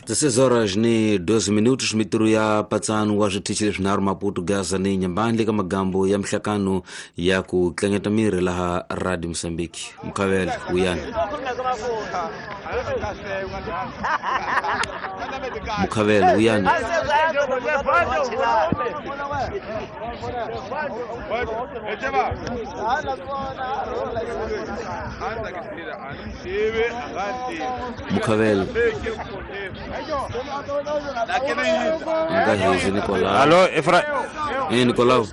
16 horas ni 12 minutos mitirho ya patsano wa switichi leswinharhu Maputo, Gaza ni Nyambani ka magambo ya mihlakano ya ku tlangeta mirhi laha Radio Mozambique. Mukhavela wuyani. Mukhavela wuyani. Mukhavela nga hezi Nicolau. Allo Efra. Nicolau.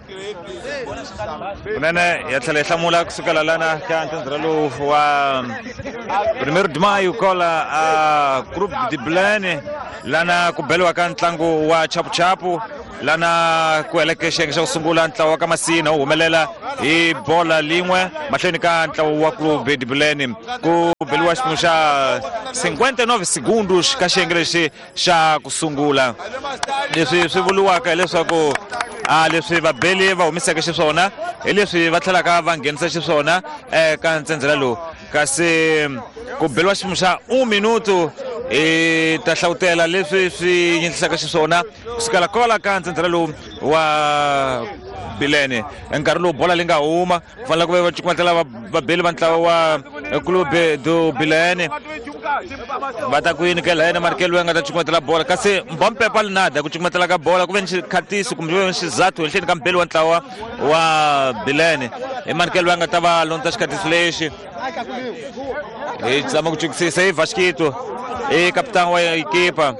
Kunene ya tlhela yi hlamula kusukela lana ka ntsandza lowu wa 1 de maio kola a Clube de Bilene lana ku beliwa ka ntlangu wa chapuchapu lana ku heleke xiyenge xa ku sungula ntlawa wa ka Masina wu humelela hi bola lin'we mahlweni ka ntlawa wa Clube de Bilene ku beliwa xiphemu xa 59 segundos ka xiyenge lexi xa ku sungula. Leswi swi vuriwaka hileswaku a leswi vabeli va humiseke xiswona hi leswi va tlhelaka va nghenisa xiswona eka ntsendzela lowu, kasi ku beliwa xiphemu xa 1 minuto hi ta hlawutela leswi swi nyingisaka xiswona kusukela kwala ka ntsendzela lowu wa Bilene. Nkarhi lowu bola leyi nga huma ku fanele ku va cukumetela vabeli va ntlawa wa Clube do Bilene va ta ku yini ke la yena Markelo a nga ta cukumetela bola, kasi Mbompepa Linada ku cukumetela ka bola ku ve ni xikhatiso kumbe ve ni xizathu henhleni ka mbeli wa ntlawa wa Bilene. I Markelo a nga ta va londza xikhatiso lexi. Hi zama ku chukisisa hi Vasquito i kapitani wa ekipa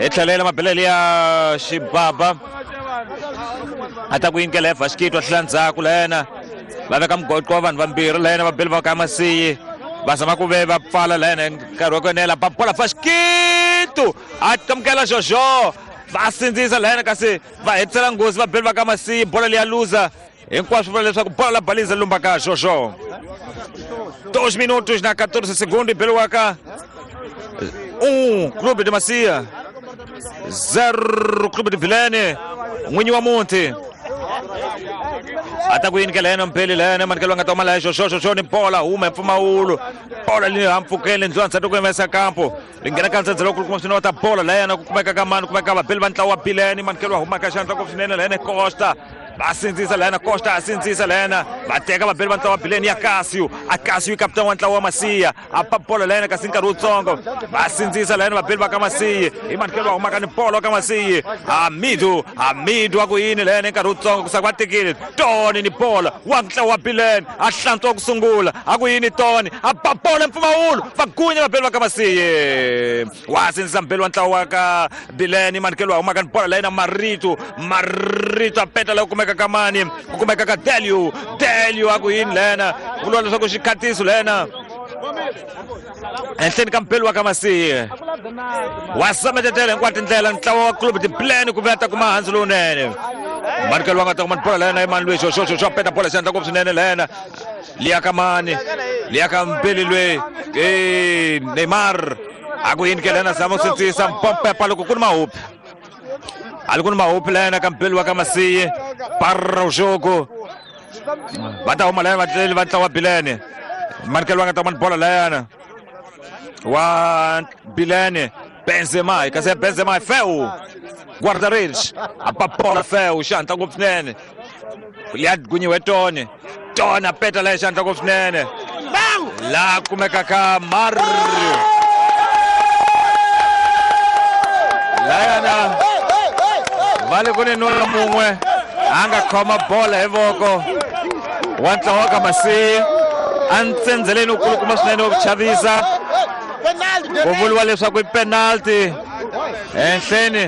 hi tlhelela mabelele ya Xibaba a ta ku yinkela hi Vasquito a tlhela ndzhaku la yena va veka mugoqo wa vanhu vambirhi la yena vabeli va ka Masiyi va zama ku ve va pfala la yena nkarhi wa ku enela ba bola Vasquito a amukela Jojo va sindzisa la yena kasi va hetisela nghozi vabeli va ka Masiyi bola leyi ya luza hinkwaswo vula leswaku bola la baliza lumba ka Jojo. 2 minutos na 14 segundos beliwaka 1 Clube de Macia 0 Clube de Bilene. N'winyi wa muti a ta ku yinikela yena mpeli la yena manikelo nga ta huma la Jojo. Jojo ni bola huma hi mpfumawulo bola leyi hampfukeni ndlwana nsati ku yimesa kampo li nghena ka ntsandza loko kuma swinene wa ta bola la yena ku kumeka ka mani kumeka vabeli va ntlawa wa Bilene manikelo wa huma ka xandla ku swinene la yena Costa va sindzisa la yena Costa a sindzisa la yena va teka vabeli va ntlawa wa Bilene ya Casio a Casio i kapitani wa ntlawa wa Masia a pa bola la yena kasi nkarhi wutsongo va sindzisa la yena vabeli va ka Masiyi hi manikelo wa humaka ni bola wa ka Masiyi Hamidu a ku yini la yena nkarhi wutsongo ku saka va tekile Tony ni bola wa ntlawa wa Bilene a hlantswa ku sungula a ku yini Tony a ba bola mpfumawulo va gunya vabeli va ka Masiyi wa sindzisa mbeli wa ntlawa wa ka Bilene manikelo wa humaka ni bola la yena Marito a peta la ku kumeka ka mani ku kumeka ka Delio a ku yini lena ku vuriwa leswaku xikhatiso lena henhleni ka mbeli wa ka Masiyi wa sametetela hinkwato tindlela ntlawa wa Clube de Bilene ku vuya ta kuma handzu lowunene manikelo wa nga ta kuma bola lena i mani lweyi Jojo peta bola xandla ngopfu swinene lena liya ka mani liya ka mbeli lweyi Neymar a ku yini ke lena zama ku sindzisa Mpompepa loko ku ni mahupi ali ku ni mahupi lena ka mbeli wa ka Masiyi para o jogo va ta huma lena vatleli va ntlawa wa Bilene manikelo wa nga ta kuma bola lena wa Bilene Benzema kasi Benzema feu guarda-redes a ba bola feu xandla ngopfu swinene ya gunyiwe Tony a peta la xandla ngopfu swinene la kumeka ka Mario layana va le ku ni nuna mun'we a nga khoma bola hi voko wa ntlawa wa ka Masiyi a ntsendzeleni wu kulukuma swinene wa ku chavisa ku vuriwa leswaku i penalty henhleni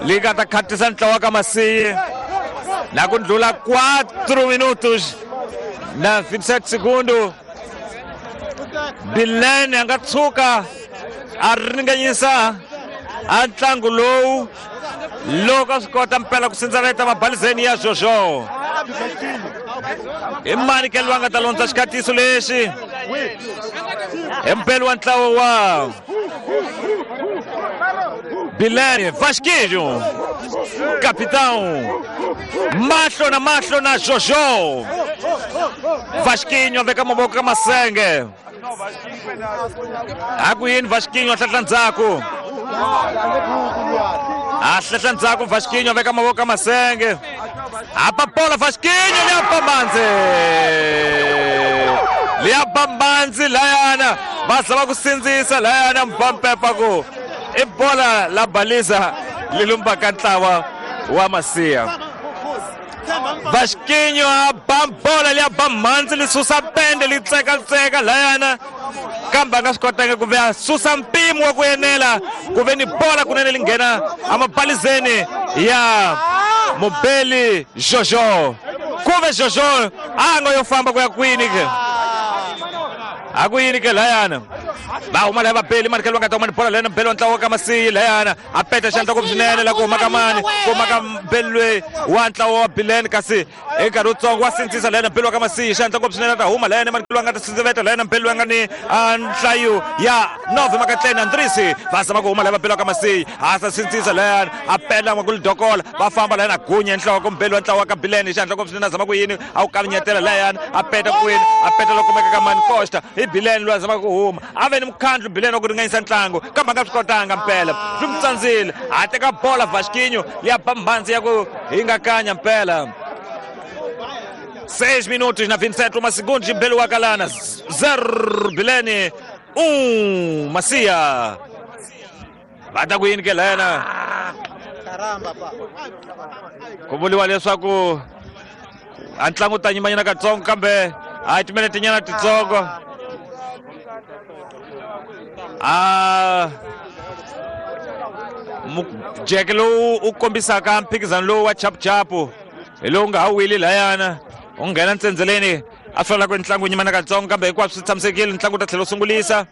leyi nga ta khatisa ntlawa wa ka Masiyi na ku ndlula 4 minutos na 27 segundo Bilene a nga tshuka a ringanyisa a ntlangu lowu loko a swi kota mpela ku sindzaveta mabalizeni ya Jojo. I mani ke loyi a nga ta londza xikhatiso lexi hi mpeli wa ntlawa wa Bilene Vasquinho capitão mahlo na mahlo na Jojo. Vasquinho a veka mavoko ka masenge A ku yini Vasquinho a hlahla ndzhaku. A hlahla ndzhaku Vasquinho veka mavoko ka masenge. A bola Vasquinho liya bambanzi. Liya bambanzi layana va zama ku sindzisa layana Mbampepa ku i bola la baliza li lumbaka ntlawa wa Masiya. Vasquinho a ba bola liya bambanzi li susa pende li tsekatseka layana kambe a nga swi kotanga ku ve a susa mpimo wa ku enela ku ve ni bola kunene li nghena emabalizeni ya Mubeli Jojo. Ku ve Jojo a nga yo famba ku ya kwini ke a ku yini ke layana va huma laya vabeli manikelo va nga ta huma ni bola layana Mbeli wa ntlawa wa ka Masiyi layana a peta xandla ngopfu swinene la ku huma ka mani ku huma ka Mbeli loyi wa ntlawa wa Bileni kasi hi nkarhi wutsongo wa sindzisa layana Mbeli wa ka Masiyi xandla ngopfu swinene a ta huma layana manikelo va nga ta sindziveta layana Mbeli loyi a nga ni nhlayo ya 9 makatleni Andrisi va zama ku huma laya vabeli wa ka Masiyi a sa sindzisa layana a pela ku lidokola va famba layana gunya nhloko Mbeli wa ntlawa wa ka Bileni xandla ngopfu swinene a zama ku yini a wu kavinyetela layana a peta kwini a peta loko kumeka ka mani Costa hi Bileni loyi a zamaka ku huma a ve ni mukhandlu Bileni wa ku ringanyisa ntlangu kambe a nga swi kotanga mpela swi n'wi tsandzile a teka bola Vasquinho liya ba mhandzi ya ku hingakanya mpela. 6 minutos na 27 segundos Mbeli wa kalana 0 Bileni 1 Masiya. Va ta ku yini ke layana ku vuriwa leswaku a ntlangu ta nyimanyana katsongo kambe a timinete nyana titsongo a mujeke lowu u kombisaka mphikizano lowu wa chapuchapu hi lowu nga ha wili layana u nghena ntsendzeleni a swi vula ku ntlangu nyimana katsongo kambe hinkwaswo swi tshamisekile ntlangu wu ta tlhela wu sungulisa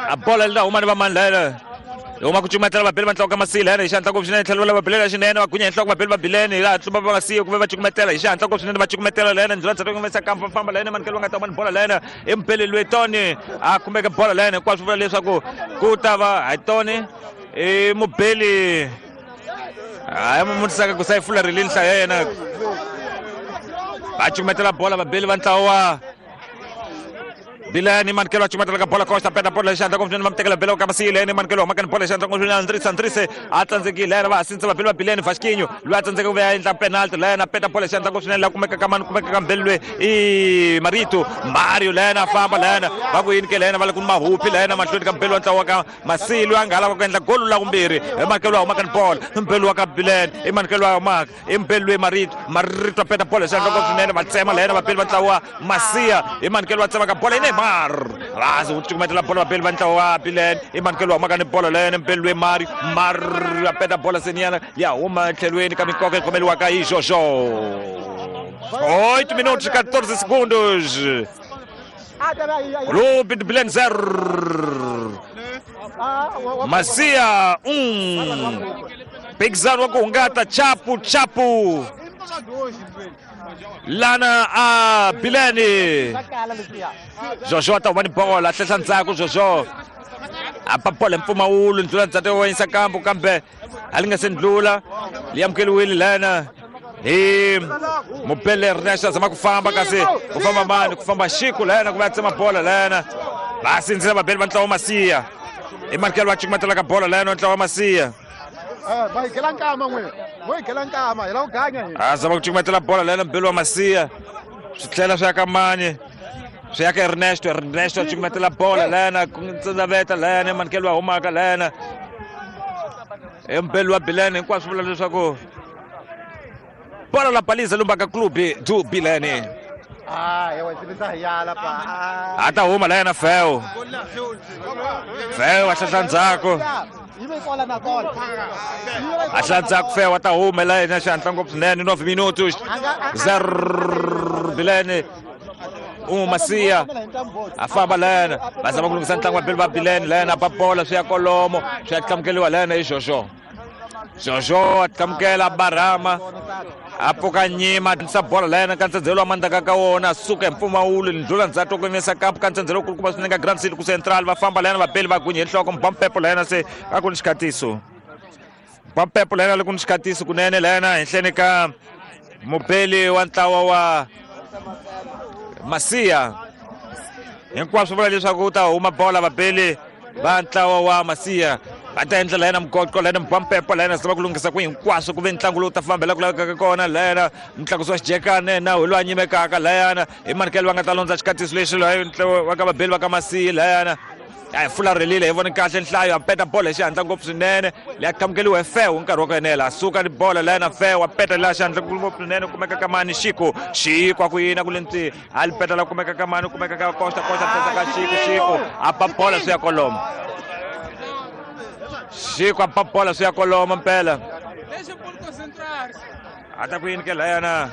a bola li ta huma ni va mani layana huma ku cukumetela vabeli va ntlawa ka Masiyi layana hi xihatla ngopfu swinene tlhelo va vabeli xinene va gunya hi nhloko vabeli va Bileni laha tlumba va Masiyi ku ve va cukumetela hi xihatla ngopfu swinene va cukumetela layana ndlula ndzhaku ngomesa kampa famba layana manikelo va nga ta huma ni bola layana i Mbeli loyi Tony a kumeke bola layana hinkwaswo vula leswaku ku ta va hi Tony i Mubeli hayi mutisaka ku sayifula rilini nhlayo ya yena va cukumetela bola vabeli va ntlawa wa Bileni manikelo a cukumetela ka bola Costa peta bola xandla ngopfu swinene va mu tekela bela ka Masiyi leni manikelo huma ka ni bola xandla ngopfu swinene Andrisi Andrisi a tsandzekile layena va ha sindzisa vabeli va Bileni Vasquinho loyi a tsandzeka ku ve a endla penalty layena peta bola xandla ngopfu swinene la kumeka ka mani kumeka ka Mbeli loyi i Marito Mario layena a famba layena va ku yini ke layena va le ku ni mahupi layena mahlweni ka Mbeli wa ntlawa ka Masiyi loyi a nga lava ku endla golu la vumbirhi hi manikelo wa huma ka ni bola Mbeli wa ka Bileni i manikelo wa humaka i Mbeli loyi Marito Marito a peta bola xandla ngopfu swinene va tsema layena vabeli va ntlawa wa Masiya i manikelo wa tsema ka bola i Neymar vazi wu cukumetela bola vabeli va ntlawa wa Bileni i manikelo wa humaka ni bola layena Mbeli loyi Mario Mario a peta bola seniyana ya huma etlhelweni ka minkoka yi khomeliwaka hi Jojo. 8 minutos 14 segundos. Clube de Bilene 0 Masiya 1. Mphikizano wa ku hungata chapu chapu lana a Bileni. Jojo a ta huma ni bola a hlehla ndzhaku Jojo a ba bola hi mpfumawulo ndlula ndzhaku wa yisa kambu kambe a li nga se ndlula li amukeliwile lana hi Mubele Ernest a zama ku famba kasi ku famba mani ku famba Xiku layena ku va tsema bola layena va sindzisa vabeli va ntlawa wa Masiya i manikelo va cukumetela ka bola layena wa ntlawa wa Masiya a zama ku cukumetela bola layena Mbeli wa Masiya swi tlhela swi ya ka mani swi ya ka Ernesto Ernesto a cukumetela bola layena ku ntsendaveta layena manikelo wa humaka layena i Mbeli wa Bileni hinkwaswo vula leswaku bola la baliza lumbaka clube do Bilene. A ta huma layena Feo Feo a hlahla ndzhaku a hlahla ndzhaku Feo a ta huma layena xihatla ngopfu swinene 9 minutos 0 Bilene 1 Masiya a famba layena va zama ku lunghisa ntlangu wa Beli va Bilene layena ba bola swi ya kolomo swi ya tlamukeliwa layena hi Jojo Jojo a tlamukela Barama a pfuka nyima sa bola layena ka ntsendzelo wa mandaka ka wona a suka hi mpfumawulo ndlula ndzhaku ku yimisa kampu ka ntsendzelo kulukumba swinene ka Grand City ku Central va famba layena vabeli va gunye hi nhloko Mbampepo layena se a ku ni xikhatiso Mbampepo layena le ku ni xikhatiso kunene layena henhleni ka mubeli wa ntlawa wa Masiya. Hinkwaswo vula leswaku u ta huma bola vabeli va ntlawa wa Masiya. Va ta endla layena mugoqo layena mubampepo layena zama ku lunghisa ku hinkwaswo ku ve ntlangu lowu ta fambela ku lavekaka kona layena mutlakusi wa xijekane na hi loyi a nyimekaka layana hi manikelo va nga ta londza xikatiso lexi loyi va ka vabeli va ka Masiya layana a hi fularhelile hi vone kahle nhlayo a peta bolo hi xihatla ngopfu swinene leyi a qhamukeliwa hi Fewu nkarhi wa ku enela a suka ni bolo layena Fewu a peta laha xihatla ngopfu swinene kumeka ka mani Xiko Xiko a ku yini a ku le ntwi a li peta la kumeka ka mani kumeka ka Costa Costa tlhesa ka Xiko Xiko a ba bola swi ya kolomo Xiko a ba bola swi ya kolomo mpela a ta ku yini ke layana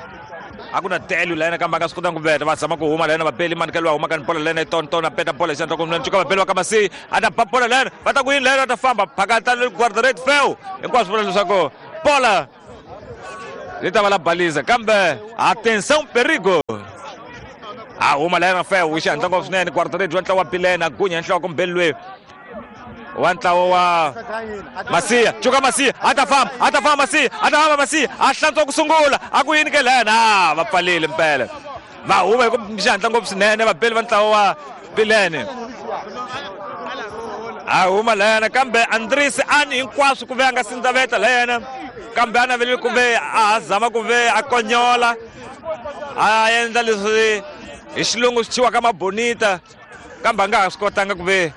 a ku na telu layena kambe a nga swi kotanga ku veta va zama ku huma layena vabeli manikelo va huma ka ni bola layena tonton a peta bola hi xandla ku ncuka vabeli va ka Masiya a ta ba bola layena va ta ku yini layena va ta famba phakata guardarate Fewu hinkwaswo vula leswaku bola li ta va la baliza kambe atenção perigo a huma layena Fewu hi xihatla ngopfu swinene guardarate wa ntlawa wa Bilene a gunya nhloko mbeli loyi wa ntlawa wa Masiya cuka Masiya a ta famba Masiya a ta famba Masiya a hlantswa ku sungula a ku yini ke lena va pfalile mpela va huma hi ku xihatla ngopfu swinene vabeli va ntlawa wa Bilene a huma layena kambe Andres ani hinkwaswo ku ve a nga sindzaveta layena kambe a navelile ku ve a ha zama ku ve a konyola a endla leswi hi xilungu swi thyiwaka mabonita kambe a nga ha swi kotanga ku ve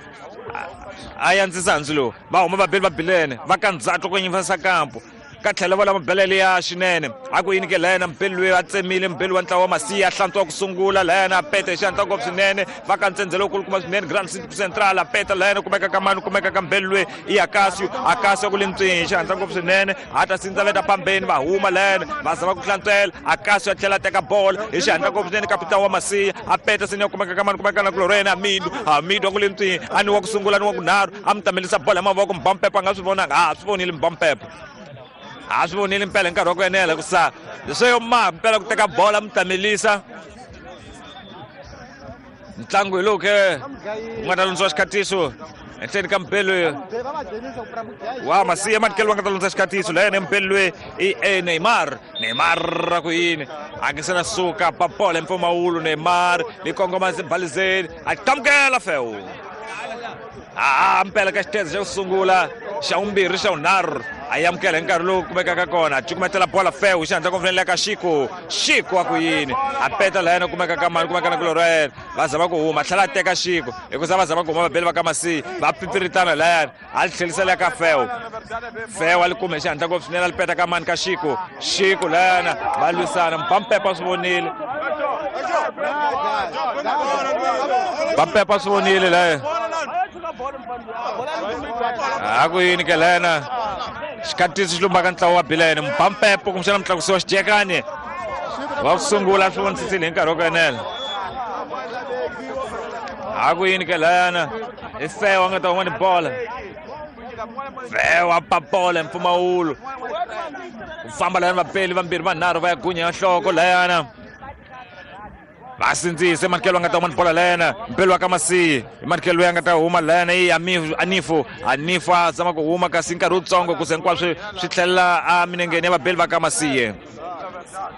a yandzisa handzu lowu va huma vabeli va Bilene va ka ndzatlo ku nyifasa kampo ka tlhelo va lama belele ya xinene a ku yini ke layena mbeli loyi a tsemile mbeli wa ntlawa wa Masiya a hlantswa ku sungula layena a peta hi xihatla ngopfu swinene va ka ntsendzelo wukulukumba swinene Grand City Central a peta layena kumeka ka mani kumeka ka mbeli loyi i Akasio Akasio ku le ntswini hi xihatla ngopfu swinene a ta sindzaveta pambeni va huma layena va zama ku hlantswela Akasio a tlhela a teka bola hi xihatla ngopfu swinene kapitani wa Masiya a peta sini ya kumeka ka mani kumeka na kulorena Amidu Amidu a ku le ntswini a ni wa ku sungula ni wa ku nharhu a mi tamelisa bola hi mavoko Mbampepo a nga swi vonanga a swi vonile Mbampepo a swi vonile mpela hi nkarhi wa ku enela ku sa leswo yo ma mpela ku teka bola mi tamelisa ntlangu hi lowu ke wu nga ta lundziwa xikhatiso henhleni ka mbeli wa Masiya manikelo va nga ta lundza xikhatiso layena mbeli loyi i Neymar Neymar ra ku yini a nge se na suka ba bola hi mpfumawulo Neymar li kongoma balizeni a qamukela Fewu a mpela ka xitezo xa ku sungula xa vumbirhi xa vunharhu a amukela hi nkarhi lowu kumekaka kona a cukumetela bola Fewu xihatla ku pfunelela ka Xiko Xiko a ku yini a peta layena kumeka ka mani kumeka na kuloro ya yena va zama ku huma tlhela a teka Xiko hikuza va zama ku huma vabeli va ka Masiya va pipiritana layani a li tlhelisela ka Fewu Fewu a li kume xihatla ngopfu swinene a li peta ka mani ka Xiko Xiko layana va lwisana Mpampepa swi vonile Mpampepa swi vonile laya a ku yini ke lena xikhatiso xi lumbaka ntlawa wa Bilene Mpampepo kumbexana mutlakusi wa xijekani wa ku sungula swi vonisisile hi nkarhi wa ku enela a ku yini ke layana i Fewu a nga ta huma ni bola Fewu a ba bola hi mpfumawulo ku famba layana vapeli vambirhi vanharhu va ya gunya ya nhloko layana va sindzise manikelo a nga ta huma ni bola layena mbeli wa ka Masiya hi manikelo loyi a nga ta huma layena i Anifu Anifu a zama ku huma kasi nkarhi wutsongo ku ze hinkwaswo swi tlhelela a minengeni ya vabeli va ka Masiya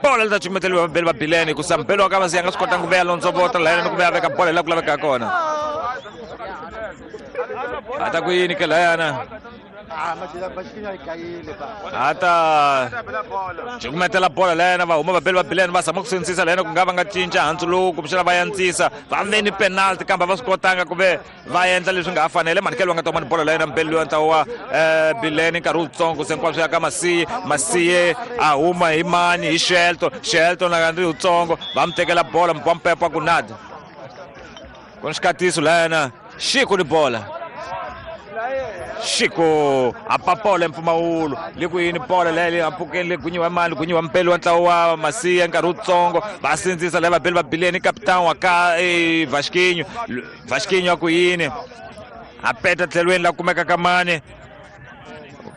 bola li ta cukumeteliwa vabeli va Bilene hikusa mbeli wa ka Masiya a nga swi kotanga ku veya londzovota layena ni ku veya veka bola hi laha ku lavekaka kona a ta ku yini ke layana a ta cukumetela bola layena va huma vabeli va Bilene va zama ku sindzisa layena ku nga va nga cinca handzu lowu kumbexana va yantsisa va ve ni penalty kambe va swi kotanga ku ve va endla leswi nga ha fanele manikelo va nga ta huma ni bola layena mbeli loyi ntlawa wa Bilene nkarhi wutsongo se hinkwaswo ya ka Masiye Masiye a huma hi mani hi Shelton Shelton a ri wutsongo va mi tekela bola Mpampepo ku nada ku ni xikatiso layena Xiko ni bola Xiko a ba bola hi mpfumawulo le ku yini bola leyi le ampfukeni le gunyiwa mali gunyiwa mpeli wa ntlawa wa Masiya nkarhi wutsongo va sindzisa leyi vabeli va Bilene kapitani wa ka Vasquinho Vasquinho a ku yini a peta tlhelweni la kumeka ka mani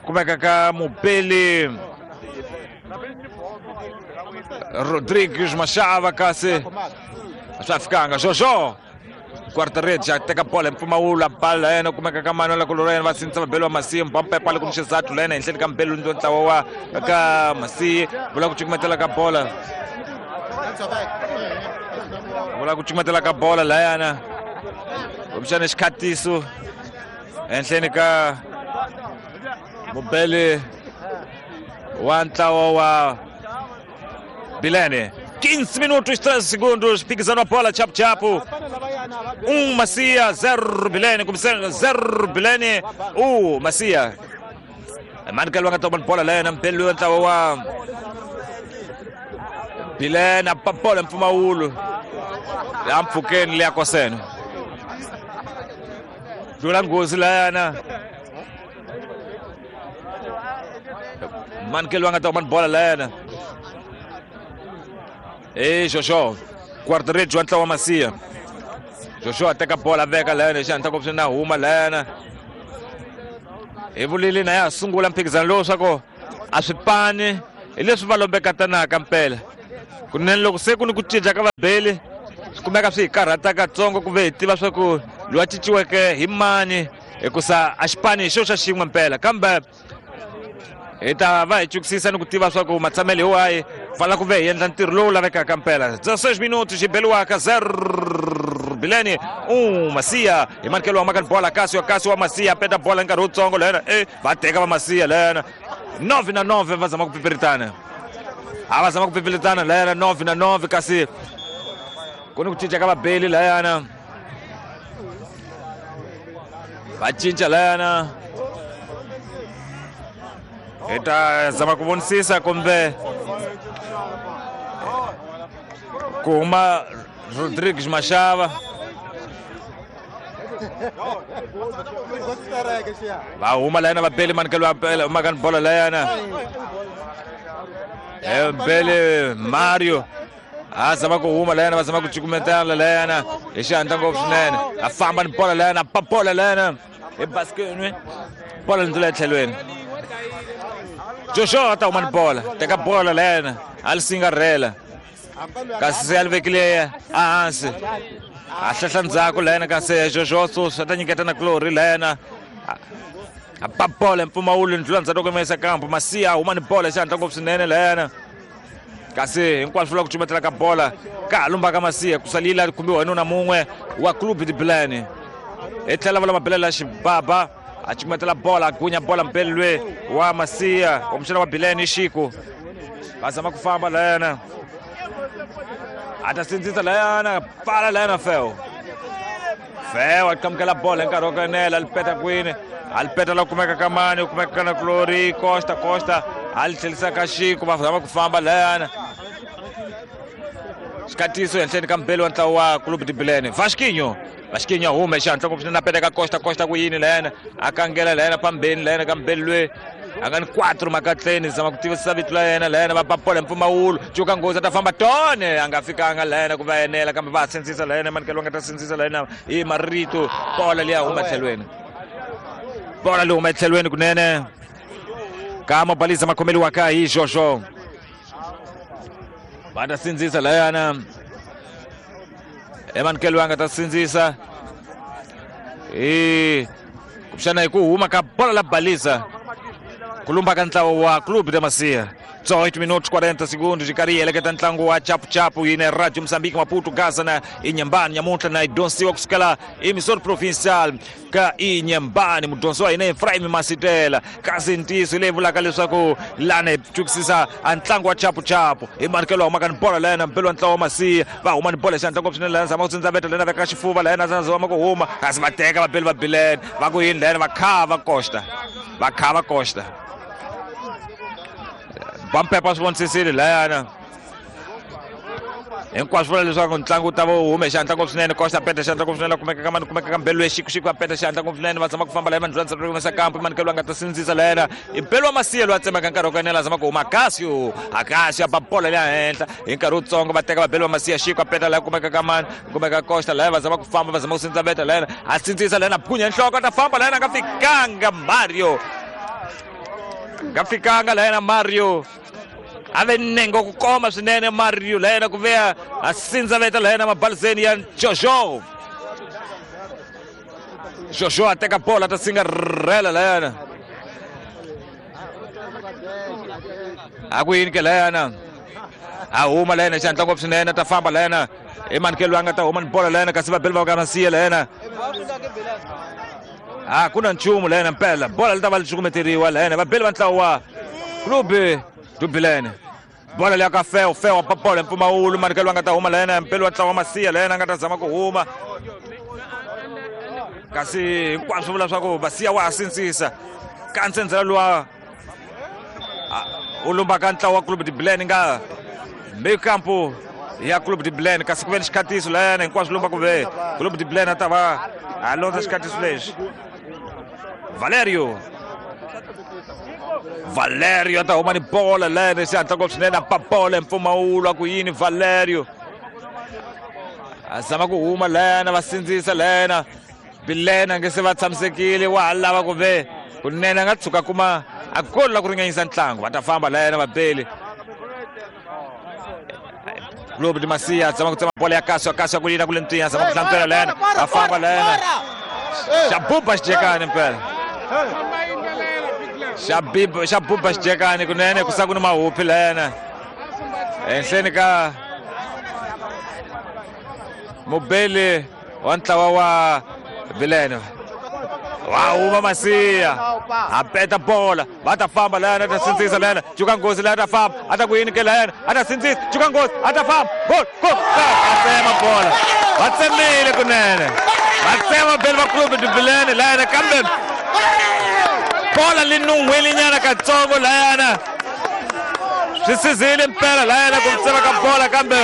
kumeka ka mupeli Rodrigues Machava kasi swa fikanga Jojo guarda-redes a teka bola hi mpfumawulo a bala yena kumeka ka mani la kuloro yena va sindzisa vabeli va Masiya Mpampepo a le ku ni xizathu la yena henhleni ka mbeli ndo ntlawa wa ka Masiya vula ku cukumetela ka bola Vula ku cukumetela ka bola layana kumbexana xikhatiso ehenhleni ka mubeli wa ntlawa wa Bilene. 15 minutos 13 segundos, phikizano wa bola chapu-chapu. 1 Macia, 0 Bilene, começando 0 Bilene, 1 Macia. Manuel va nga toma bola layana mbeli wa ntlawa wa Bilene a ba bola mpfumawulo la mpfhukeni leya kosene. Dlula nghozi layana. Manuel va nga toma bola layana. E Jojo, guarda-redes wa ntlawa wa Macia. Jojo a teka bola veka layana xi hatla na huma layana. Hi vulile na ya sungula mphikizano lowu swa ku a swi pani hi leswi va lombekatanaka mpela. Kunene loko se ku ni ku cinca ka vabeli swi kumeka swi hi karhata katsongo ku ve hi tiva swa ku loyi a cinciweke hi mani hikusa a xi pani hi xo xa xin'we mpela, kambe hi ta va hi chukisisa ni ku tiva swa ku matshamelo hi wahi pfala ku ve hi endla ntirho lowu lavekaka mpela. 16 minutos xi beliwaka 0 Bilene 1 Macia. Hi manikelo wa maka bola Casio, Casio wa Macia peta bola nkarhi wutsongo lena va teka va Macia lena 9 na 9 va zama ku pipiritana. A va zama ku pipiritana lena 9 na 9 kasi ku ni ku cinca ka vabeli layana. Va cinca layana. Hi ta zama ku vonisisa kumbe ku huma Rodrigues Machava. Va huma layana vabeli manikelo wa makani bola layana. Bele Mario a zama ku huma layana, va zama ku cukumetana layana hi xihatla ngopfu swinene. A famba ni bola layana, pa bola layana hi basketini, bola ndlula etlhelweni. Joshua a ta huma ni bola, teka bola layana a li singarhela kasi se a li vekile ehansi. A hlehla ndzhaku layana kasi Joshua Susa ta nyiketa na Glory layana. A ba bola mpfumawulo ndlula ndzhaku loko yisa kampo. Macia huma ni bola xihatla ngopfu swinene layana. Kasi hinkwaswo vula ku cukumetela ka bola ka ha lumba ka Macia ku salila khumbiwa hi nuna mun'we wa Clube de Bilene. Hi tlhela va lama belela xibaba a cukumetela bola a gunya bola mbeli lwe wa Macia wa muxana wa Bilene Xiku. Va zama ku famba layana. A ta sindzisa layana, pfala layana Feo. Feo a qamukela bola hi nkarhi wa ku enela, a li peta kwini, a li peta la kumeka ka mani, kumeka na Glory Costa, Costa a li tlhelisa ka Xiku, va zama ku famba layana. Xikatiso ehenhleni ka mbeli wa ntlawa wa Clube de Bilene. Vasquinho, Vasquinho a huma hi xihatla ngopfu swinene a peta ka Costa, Costa ku yini layana, a kangela layana phambeni layana ka mbeli lwe a nga ni 4 makatleni, zama ku tivisa vito la yena layana, va ba bola mpfumawulo cuka nghozi a ta famba tone a nga fikanga layana ku va enela, kambe va sindzisa layana manikelo va nga ta sindzisa layana hi marito. Bola leyi huma etlhelweni, bola leyi huma etlhelweni kunene ka Mabaliza makhomeliwaka hi Jojo. Va ta sindzisa layana emanikelo va nga ta sindzisa hi kumbexana hi ku huma ka bola la Baliza ku lumba ka ntlawa wa Clube de Macia. 18 minutos 40 segundos yi karhi yi heleketa ntlangu wa chapuchapu yine Radio Mozambique Maputo Gaza na Inhambane nyamuntlha na yi dyondzisiwa kusukela emisori provincial ka Inhambane. Mudyondzi wa hina Efraim Masitela kasi ntiyiso leyi vulaka leswaku lana hi chukisisa a ntlangu wa chapuchapu hi manikelo humaka ni bola layana mbeli wa ntlawa wa Macia va huma ni bola hi xihatla ngopfu swinene layana zama ku tsindzaveta layana veka xifuva layana zama ku huma kasi va teka vabeli va Bilene va ku yini layana va khava Costa, va khava Costa. Bampepa swi vonisisile layana hinkwaswo vula leswaku ntlangu wu ta va wu hume xihatla ngopfu swinene. Costa peta xihatla ngopfu swinene, kumeka ka mani, kumeka ka mbelu Xiku, Xiku a peta xihatla ngopfu swinene, va zama ku famba laya vanhu va humesa kampo manikelo va nga ta sindzisa layana i mbelu wa Macia loyi a tsemaka nkarhi wa ku enela zama ku huma Casio, Casio a ba bola leya henhla hi nkarhi wutsongo va teka vabeli va Macia. Xiku a peta laya kumeka ka mani, kumeka Costa laya va zama ku famba, va zama ku sindzaveta layana a sindzisa layana phunya nhloko a ta famba layana a nga fikanga Mario, nga fikanga layana Mario a ve nengo ku koma swinene Mario layena ku veya a sindzaveta layena mabalizeni ya Jojo. Jojo a teka bola ta singarhela layana a ku yini ke layana A huma la yena xihatla ngopfu swinene, ta famba la yena i manikelo a nga ta huma ni bola la yena, kasi vabeli va ka Masiya la yena a ku na nchumu la yena mpela bola li ta va li cukumeteriwa la yena vabeli va ntlawa wa Clube do Bilene. Bola leya ka Feo, Feo pa bola mpfumawulo, manikelo a nga ta huma la yena mpeli wa ntlawa wa Masiya la yena a nga ta zama ku huma, kasi hinkwaswo vula swa ku Masiya wa ha sindzisa ka ntsendzela luwa u lumbaka ntlawa wa Clube de Bilene nga mikampo ya Clube de Bilene, kasi ku ve ni xikhatiso la yena hinkwaswo lumba ku ve Clube de Bilene a ta va a londza xikhatiso lexi. Valerio a ta huma ni bola la yena xihatla ngopfu swinene, a pa bola hi mpfumawulo a ku yini Valerio a zama ku huma la yena, va sindzisa la yena Bilene a nge se va tshamisekile, wa ha lava ku ve kunene a nga tshuka kuma a golo la ku ringanyisa ntlangu. Va ta famba la yena vabeli Clube de Masiya zama ku tsema bola ya Kaswa, Kaswa ku yina ku le ntwinya, zama ku hlantswela la yena, va famba la yena xa buba xijekani mpela, xa buba xijekani kunene, ku sa ku ni mahuphi la yena ehenhleni ka mubeli wa ntlawa wa Bilene. Wa huma Masiya a peta bola, va ta famba la yena, ta sindzisa la yena cuka nghozi la yena, ta famba a ta ku yini ke la yena, a ta sindzisa cuka nghozi, a ta famba gol gol, a tsema bola, va tsemile kunene, va tsema beli va Clube de Bilene la yena, kambe bola li nun'hwile nyana katsongo la yena, swi sizile mpela la yena ku tsema ka bola, kambe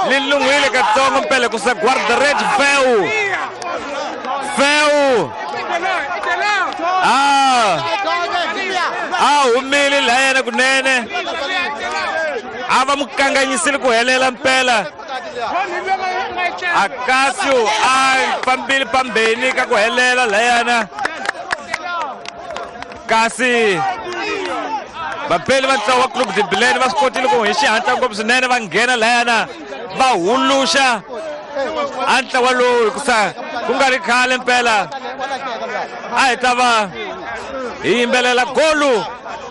li nun'hwile katsongo mpela ku sa guarda-rede Feu Feu a humile la yena kunene, a va mu kanganyisile ku helela mpela. Akasio a fambile pambeni ka ku helela la yena, kasi vapeli va ntlawa wa Clube de Bilene va swi kotile ku hi xihatla ngopfu swinene va nghena la yena va huluxa a ntlawa lowu, hikusa ku nga ri khale mpela a hi ta va hi yimbelela golu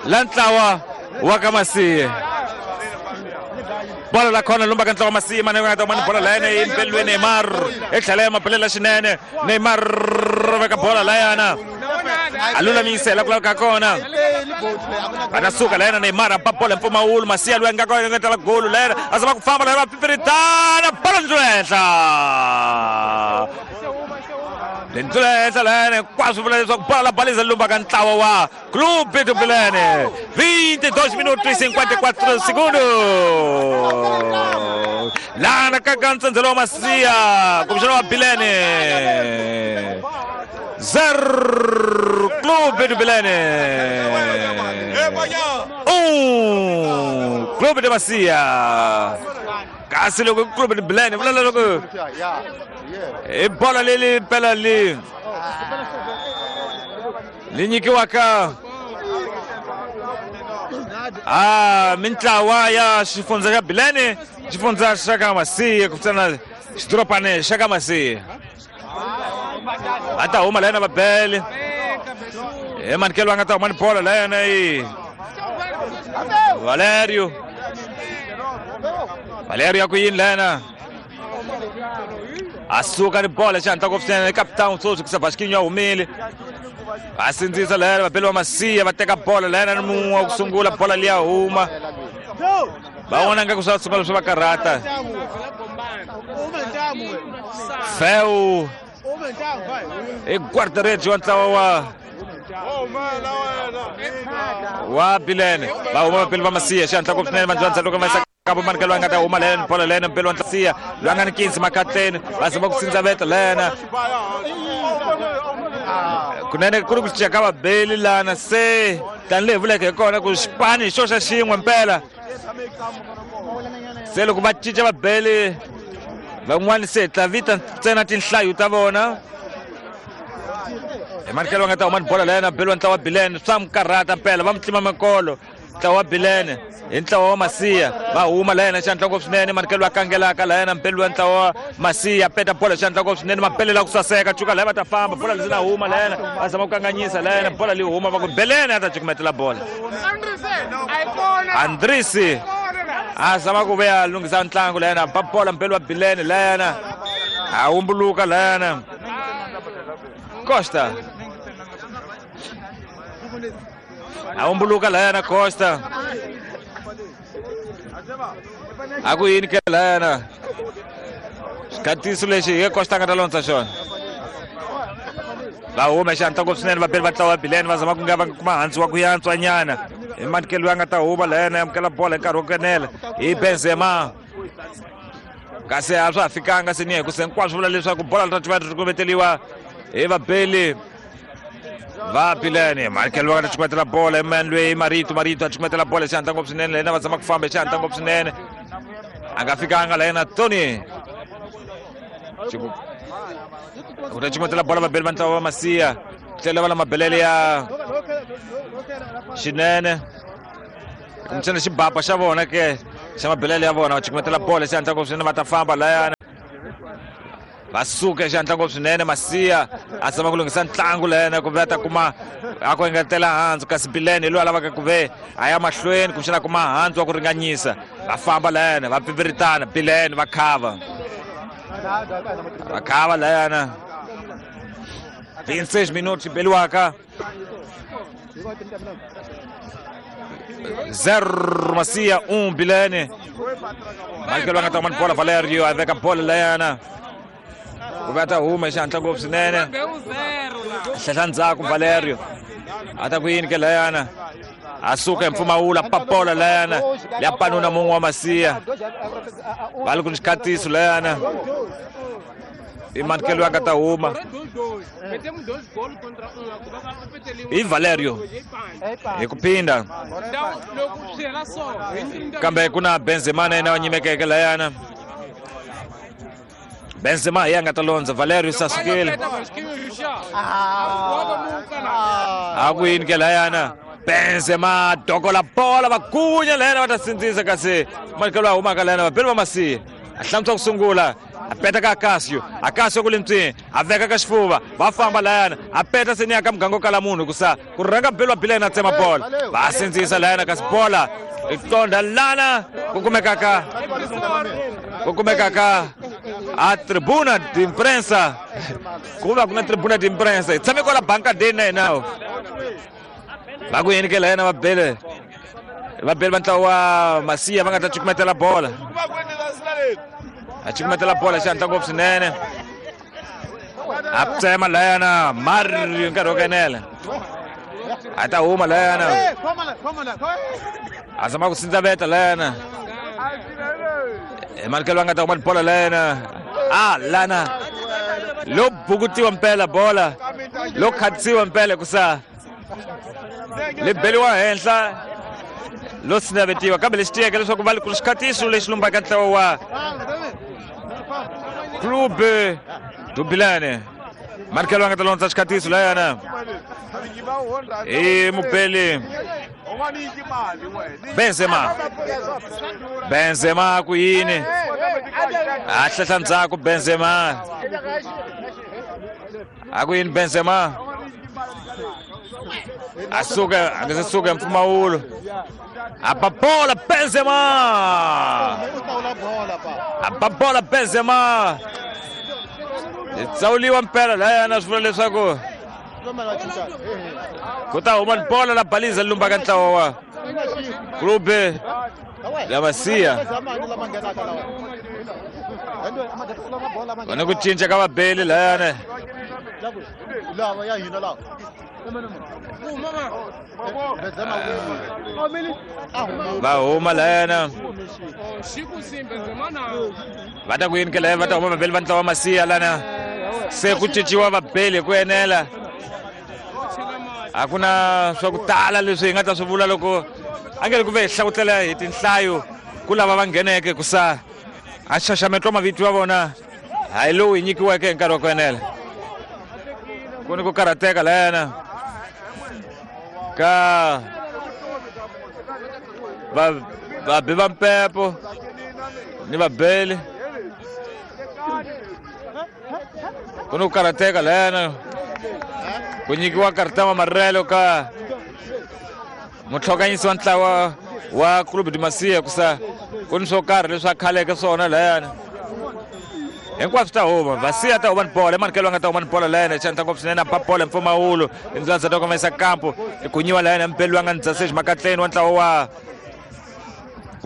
la ntlawa wa ka Masiya. Bola la khona lumba ka ntlawa wa Masiya, mane nga ta mani bola la yena yimbeliwe Neymar etlhela ya mabelela xinene, Neymar veka bola la yana a lulamisela ku lava ka kona, va ta suka la yena Neymar a ba bola mpfumawulo, Masiya loyi a nga kona nga tala golu la yena a zama ku famba la yena va pipiritana bola ndzi henhla lendlula henhla la yena, hinkwaswo vula leswaku bola la baliza lumba ka ntlawa wa Clube do Bilene. 22 minutos e 54 segundos. Lana ka ntsendzelo wa Masiya kumbexana wa Bilene 0 Clube do Bilene 1 Clube de Masiya. Kasi loko Clube do Bilene vula loko i bola leli mpela li li nyikiwaka a mintlawa ya xifundza xa Bilene, xifundza xa ka Masiya, ku fana xidorobane xa ka Masiya. Va ta huma la yena vabele hi manikelo a nga ta huma ni bola la yena i Valerio, Valerio ya ku yini la yena a suka ni bola xihatla ngopfu swinene, capitão sweswi kusa Vasquinho a humile a sindzisa la yena, vabeli va Masiya va teka bola la yena ni mun'we wa ku sungula bola liya huma, va vona nga ku swa sungula swi va karhata. Feu i guarda-redes wa ntlawa wa Bilene, va huma vabeli va Masiya xihatla ngopfu swinene, vandzandza loko va kabo manikelo a nga ta huma la yena bola la yena mpeli wa Masiya loyi a nga ni 15 makatleni, va zama ku sindzaveta la yena kunene ku ri ku cinca ka vabeli lana, se tanihi vuleke hi kona ku xipani hi xo xa xin'we mpela, se loko va cinca vabeli van'wani se hi ta vita ntsena tinhlayo ta vona. Hi manikelo va nga ta huma ni bola la yena beli wa ntlawa wa Bilene, swa mu karhata mpela, va mu tlima makolo ntlawa wa Bilene hi ntlawa wa Masiya, va huma la yena xihatla ngopfu swinene, manikelo a kangelaka la yena mpeli wa ntlawa wa Masiya peta bola xihatla ngopfu swinene, mabelela ku saseka cuka la va ta famba bola lezi na huma la yena va zama ku kanganyisa la yena bola leyi huma va ku Belene a ta cukumetela bola Andrisi. A zama ku ve a lunghisa ntlangu layana ba bola mpelo wa Bilene layana a humbuluka layana Costa a humbuluka layana Costa a ku yini ke layana xikhatiso lexi hi Costa a nga ta londza xona va huma xi ntlangu swinene vabeli va ntlawa wa Bilene va zama ku nga va kuma hansi wa ku yantswa nyana hi manikelo loyi a nga ta huma layana amukela bola hi nkarhi wo kenela hi Benzema kasi a swa ha fikanga se ni hi ku se hinkwaswo vula leswaku bola ri ta ri kumeteliwa hi vabeli va Bilene Michael va nga ta cukumetela bola hi loyi Marito Marito a cukumetela bola xi hatla ngopfu swinene layena va zama ku famba xi hatla ngopfu swinene a nga fikanga layena Tony ku ta cukumetela bola vabeli va ntlawa va Masiya tlhela va la mabelele ya xinene kumbexana xibaba xa vona ke xa mabelele ya vona va cukumetela bola xi hatla ngopfu swinene va ta famba layana va suka xi hatla ngopfu swinene Masiya a zama ku lunghisa ntlangu layana ku ve a ta kuma a ku engetela handzu kasi Bilene hi loyi a lavaka ku ve a ya mahlweni kumbexana a kuma handzu wa ku ringanyisa va famba layana va pfipfiritana Bilene va khava va khava layana 26 minutos beliwaka 0 Masiya 1 Bilene Michael va nga ta kuma bola Valerio a veka bola layana ku va ta huma xi hatla ngopfu swinene hlehla ndzhaku Valerio a ta ku yini ke layana a suka hi mpfumawula papola layana ya panuna mun'we wa Masiya va ri ku ni xikhatiso layana i manikelo ya nga ta huma hi Valerio hi ku phinda kambe ku na Benzema na yena wa nyimekeke layana Benzema hi ya nga ta londza Valerio se a sukile a ku yini ke layana Benzema dokola bola va gunya layana va ta sindzisa kasi manikelo a humaka layana vabeli va Masiya a hlantswa ku sungula a peta ka Akasio Akasio ku le ntswini a veka ka xifuva va famba layana a peta se ni ya ka muganga wo kala munhu hikusa ku rhanga beli wa Bilene a tsema bola va sindzisa layana kasi bola i tonda lana ku kumekaka a tribuna de imprensa ku va ku na tribuna de imprensa hi tshame kwala bankadeni na hina va ku yini ke layana vabele va ntlawa wa Masiya va nga ta cukumetela bola a cukumetela bola xi hatla ngopfu swinene a tsema layana Mario nkarhi wo kenela a ta huma layana a zama ku sindzaveta layana hi manikelo va nga ta huma bola layana a lana lo bukutiwa mpela bola lo khatisiwa mpela kusa li beliwa henhla lo sinavetiwa kambe lexi tiyeke leswaku va ku xikhatiso lexi lumbaka ntlawa wa Clube do Bilene manikelo va nga ta londza xikhatiso layana hi mubeli Benzema Benzema ku yini a hlehla ndzhaku Benzema a ku yini Benzema a suka a nga se suka hi mpfumawulo a ba bola Benzema a ba bola Benzema tsawuliwa mpela layana swi vula leswaku ku ta huma ni bola la baliza lumbaka ntlawa wa Clube ya Masiya va ni ku cinca ka vabeli layana va huma layana va ta ku yini ke laya va ta huma vabeli va ntlawa wa Masiya lana se ku cinciwa vabeli hi ku enela a ku na swa ku tala leswi hi nga ta swi vula loko a nge ri ku ve hi hlawutela hi tinhlayo ku lava va ngheneke ku sa a xaxameto wa mavito ya vona hayi lowu hi nyikiweke hi nkarhi wa ku enela ku ni ku karhateka layana ka vabi va mpepo ni vabeli ku ni ku karhateka layana ku nyikiwa karta wa marelo ka mutlhokanyisi wa ntlawa wa Clube de Masiya kusa Ku ni swo karhi leswi a khaleke swona layani. Hinkwaswo ta huma, Vasiya ta huma ni bola, Emanikelo nga ta huma ni bola layani, xandla ngopfu swinene a ba bola mpfumawulo, indlela ta komesa kampo, ikunyiwa layani mpelu nga ndzasezi makatleni wa ntlawa wa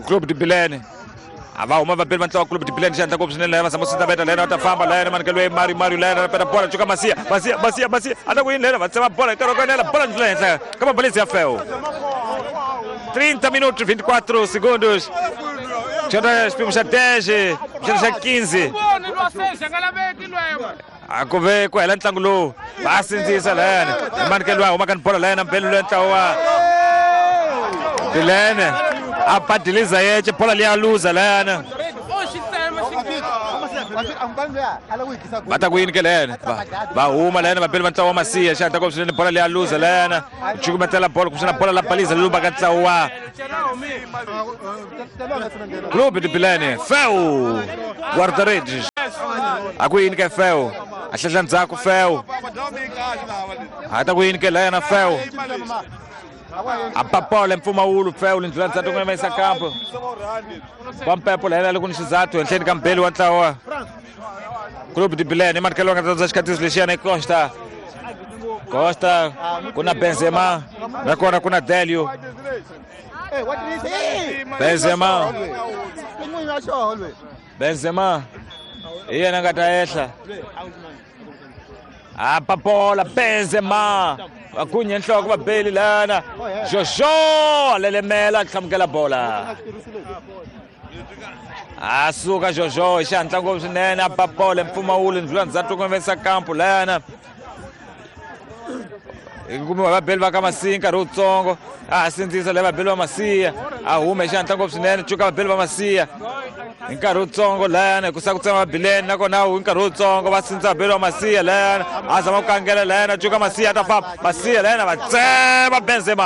Clube de Bilene. A va huma vabeli va ntlawa Clube de Bilene, xandla ngopfu swinene layani, va zama sita veta layani, va ta famba layani, Emanikelo Mario Mario layani, peta bola cuka Masiya, Masiya Masiya Masiya, a ta ku yini layani, va tsema bola nkarhi wa ku enela, bola ndlela henhla ka mabalisi ya Feu. 30 minutos 24 segundos. Xana xipimo xa 10, xana xa 15. A ku ve ku hela ntlangu lowu va sindzisa layani. Emanikelo wa huma ka bola layani, mbelu loyi ntlawa wa Bilene a badiliza yece bola liya luza layani. Va ta ku yini ke layani? Va huma layani vabeli va ntlawa wa Masiya, xandla ngopfu swinene bola liya luza layani. Cukumetela bola kumbexana bola la baliza lumba ka ntlawa wa Clube de Bilene. Feu guarda-redes. A ku yini ke Feu? A hlehla ndzhaku Feu. A ta ku yini ke layana Feu? A ba bola mpfumawulo Feu lindlula ndzhaku ku yimisa kampo. Vampepo layana loko ni xizathu henhleni ka mbeli wa ntlawa Clube de Bilene. Emanikelo nga ta xikatiso lexiyana i Costa. Costa ku na Benzema, nakona ku na Delio. Benzema. Benzema hi yena nga ta ehla. A ba bola Benzema. Va kunye nhloko va beli lana. Jojo lelemela hlamukela bola. A suka Jojo hi xihatla ngopfu swinene a ba bola mpfumawulo ndlula ndzhaku ku yimisa kampo lana. Kumiwa vabeli va ka Masiya nkarhi wutsongo, a sindzisa leyi vabeli va Masiya, a huma hi xihatla ngopfu swinene, cuka vabeli va Masiya hi nkarhi wutsongo layani, ku sa ku tsema Bilene nakona hi nkarhi wutsongo va sindzisa vabeli va Masiya layani, a zama ku kangela layani, cuka Masiya ta famba, Masiya layani va tsema Benzema,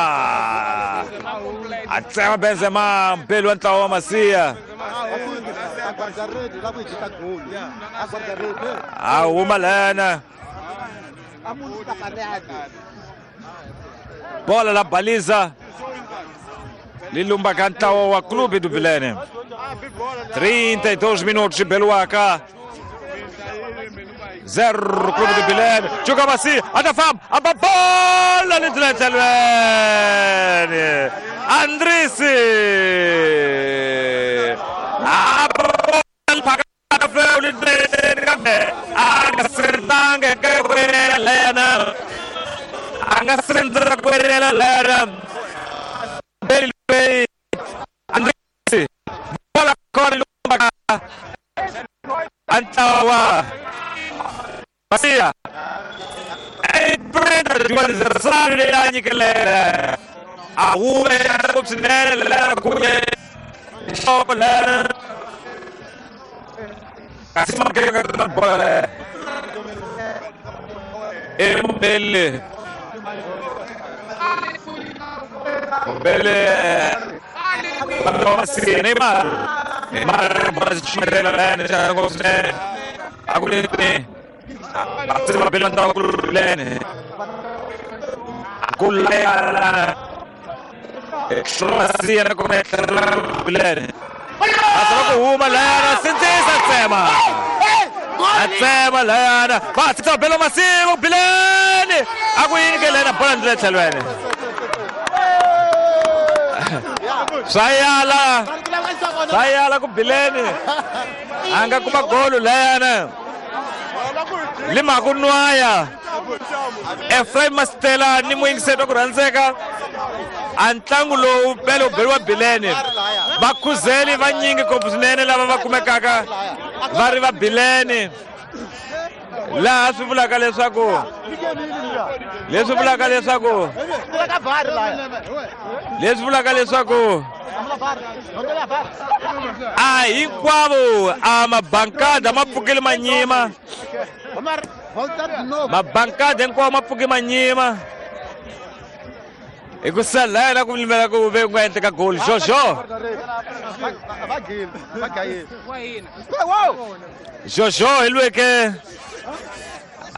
a tsema Benzema mbeli wa ntlawa wa Masiya. A huma layani. Bola la baliza lilumba ka ntlawa wa Clube do Bilene. 32 minutos Beluaka 0 Clube do Bilene. Chuka Masiya atafamba a bola lindlela Andrisi a bola phaka Feu lindlela a nga sirtanga lena a nga sirtanga kwela lena Beli Andrisi bola kona lumba Antawa Masiya e prenda juan leela a hume ngopfu lera kunye nhloko lera kasi makeka bola e Mbele Mbele Neymar Neymar bola ximela lena xa ngopfu swinene a ku ni a bela ntlawa ku lene ku laya Masiya na kona Bilene a zama ku huma layana sindzisa tsema a tsema layana va tshika bela Masiya Bilene a ku yini ke lena bola ndlela tlhelweni swa yala ku Bilene a nga kuma golo layana lima ku nwaya Ephraim Mastela ni muyingiseti wa ku rhandzeka a ntlangu lowu bele wu beriwa Bilene vakhuzeli vanyingi ngopfu swinene lava va kumekaka va ri va Bilene laha swi vulaka leswaku leswi vulaka leswaku leswi vulaka leswaku a hinkwavo a mabankada ma pfukile manyima mabankada hinkwawo ma pfuke manyima hi ku sala ku limela ku ve ku nga endleka goal Jojo Jojo hi lweke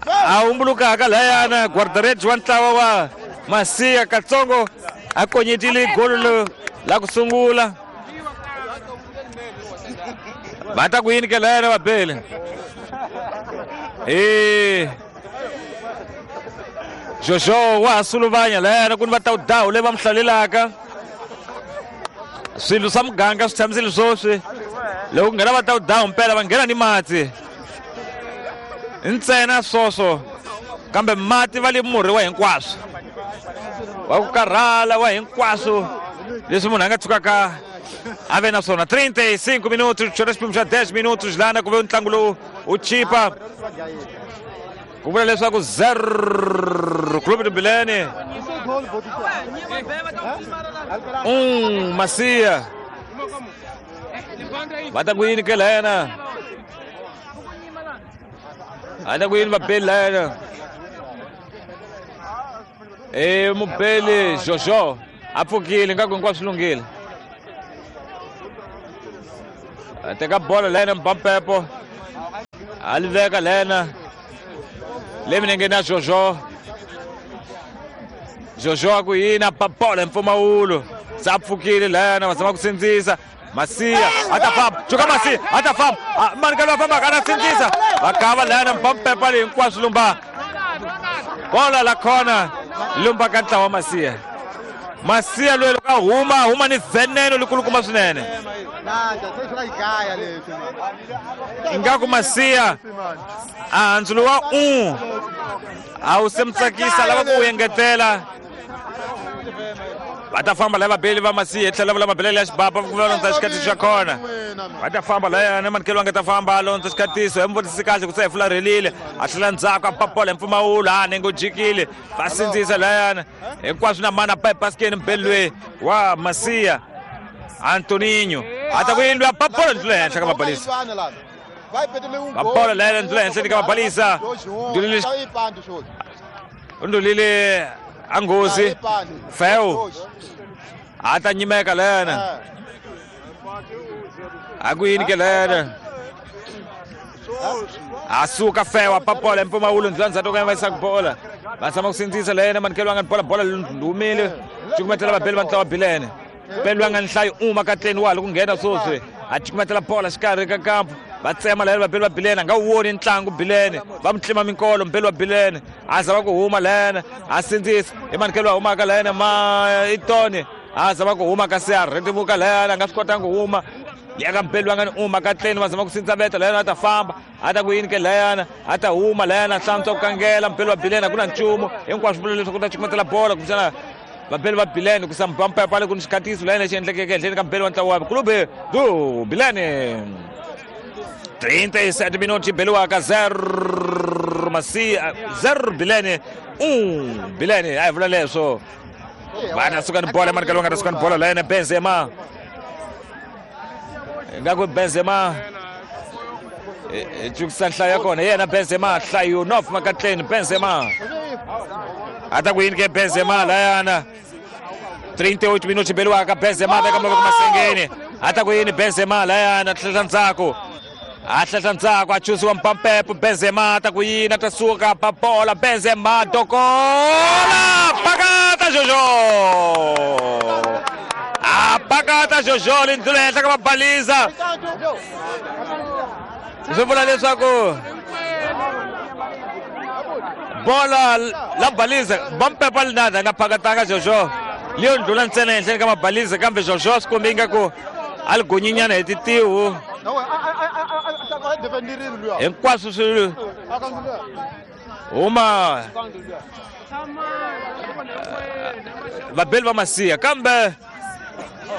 a humbulukaka layana guarda-redes wa ntlawa wa Masiya katsongo a konyetile golo la ku sungula. Va ta ku yini ke lena vabeli? Jojo wa ha suluvanya lena ku ni va ta dawu leyi va mi hlalelaka. Swilo swa muganga swi tshamisile swoswi. Loko ku nghena va ta dawu mpela va nghena ni mati. Ntsena swoswo kambe mati va le murhi wa hinkwaswo. Wa ku karhala wa hinkwaswo leswi munhu a nga tshukaka a ve na swona. 35 minutos, xona xiphemu xa 10 minutos lana ku ve ntlangu lowu wu chipa. Ku vula leswaku 0 Clube de Bilene 1 Macia. Va ta ku yini ke lena? A ta ku yini vabeli lena? Mubeli Jojo a pfukile nga ku hinkwaswo swi lunghile. A teka bolo lena Mbampepo a li veka lena le milengeni ya Jojo. Jojo a ku yini a ba bolo hi mpfumawulo se a pfukile lena va zama ku sindzisa. Masia a ta famba, cuka Masia a ta famba, mani ka loyi a fambaka a ta sindzisa va kava lena Mbampepo leyi hinkwaswo lumba bola la khona lumba ka ntlawa wa Masia. Masia loyi loko a huma ni veneno likulukumba swinene. Ingaku Masia a handzulo wa 1 a wu se mi tsakisa, lava ku wu engetela. Va ta famba lava vabeli va Masia tlhela vula mabelele ya xibaba ku va londza xikatiso xa kona. Va ta famba layana manikelo a nga ta famba a londza xikatiso hi muvutisi kahle ku se hi fularhelile a tlhela ndzhaku a papola hi mpfumawulo a nenge u jikile va sindzisa layana hinkwaswo na mana pa ebasikeni mubeli loyi wa Masia Antoninho a ta ku yini loyi a papola ndlula henhla ka mabalisa. Papola layana ndlula henhla ka mabalisa. Ndulile a nghozi Feu a ta nyimeka lena a ku yini ke lena a suka Feu a papola mpfumawulo ndlula ndzhaku ka va yisa bola va tshama ku sindzisa lena manikelo a nga ni bola bola lumile cukumetela vabeli va ntlawa Bilene beli va nga ni nhlayo uma katleni wa ha loko nghena swoswi a cukumetela bola xikarhi ka kampu va tsema layena vabeli va Bilene a nga wu voni ntlangu Bilene va mu tlima minkolo mubeli wa Bilene a zama ku huma layena a sindzisa i manikelo a humaka layena ma itoni a zama ku huma kasi a rhetimuka layena a nga swi kotanga ku huma ya ka mubeli va nga ni uma katleni va zama ku sindza veta layena a ta famba a ta ku yini ke layana a ta huma layana a hlantswa ku kangela mubeli wa Bilene a ku na nchumu hinkwaswo vula leswaku ta cukumetela bola kumbexana vabeli va Bilene ku sa Mbampepale ku ni xikatiso layena lexi endlekeke ehenhleni ka mubeli wa ntlawa wa Clube do Bilene. 37 minutos beliwaka 0 Masia 0 Bilene 1 Bilene a hi vula leswo va ta suka ni bola manikelo va nga ta suka ni bola layena Benzema ingaku Benzema cukisa nhlayo ya kona yena Benzema nhlayo nof makatleni Benzema a ta ku yini ke Benzema layana 38 minutos beliwaka Benzema veka mavoko masengeni a ta ku yini Benzema layana tlhela ndzhaku a hlehla ndzhaku a chusiwa Mpampepo Benzema a ta ku yini a ta suka pa bola Benzema dokola pakata Jojo a pakata Jojo lindlula henhla ka mabaliza swi vula leswaku bola la baliza Mpampepo linada a nga phakatanga Jojo leyo ndlula ntsena henhleni ka mabaliza kambe Jojo swi kombe ingaku a li gonyinyana hi titihu hinkwaswo swi huma vabeli va Masia kambe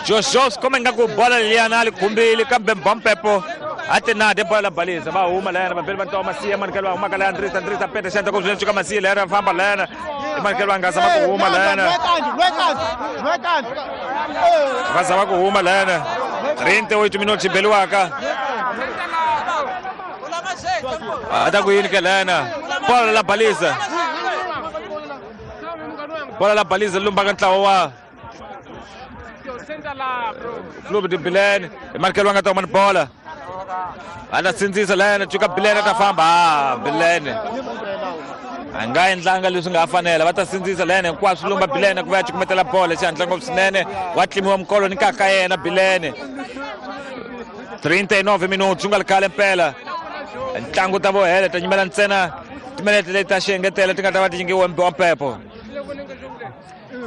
Jojo swi kombe ingaku bola liyana a li khumbile kambe Mbampepo a ti nade bola la baliza va huma layana vabeli va ntlawa Masia manikelo va humaka laya Andrisa Andrisa peta xandla ku swinene cuka Masia layana va famba layana i manikelo va nga zama ku huma layana va zama ku huma layana 38 minutos beliwaka a ta ku yini ke layana bola la baliza bola la baliza lumbaka ntlawa wa Clube de Bilene i manikelo va nga ta huma ni bola a ta sindzisa layana cuka Bilene a ta famba Bilene a nga endlanga leswi nga fanela va ta sindzisa layana hinkwaswo lumba Bilene ku va ya cukumetela bola xihatla ngopfu swinene wa tlimiwa mikolo ni kaka yena Bilene 39 minutos ku nga ri khale mpela ntlangu ta vo hela ta nyimela ntsena timinete leti ta xiengetelo ti nga ta va ti nyikiwe wa mpepo.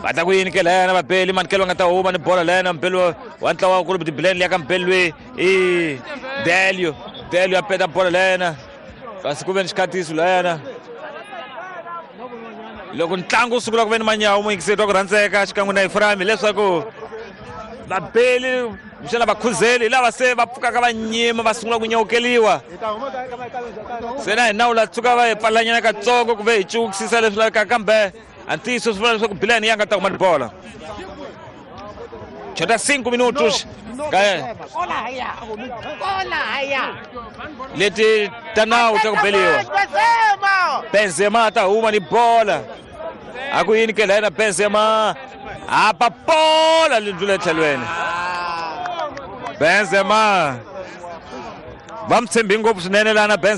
Va ta ku yini ke lena vabeli manikelo va nga ta huma ni bola lena mbeli wa ntlawa wa Clube de Bilene liya ka mbeli loyi i Delio. Delio a peta bola lena kasi ku ve ni xikhatiso lena loko ntlangu wu sungula ku ve ni manyawu muyingiseri wa ku rhandzeka xikan'we na Efraim hileswaku vabeli kumbexana vakhuzeli hi lava se va pfukaka va nyima va sungula ku nyawukeliwa. Se na hina wu la tshuka va hi pfalanyana katsongo ku ve hi cukisisa leswi lavekaka, kambe a ntiyiso swi vula leswaku Bilene ya nga ta huma ni bola. Chota 5 minutos leti ta nawu ta ku beliwa. Benzema ta huma ni bola, a ku yini ke lena Benzema apa bola li ndlula etlhelweni. Benzema va mi tshembi ngopfu swinene lana Benzema.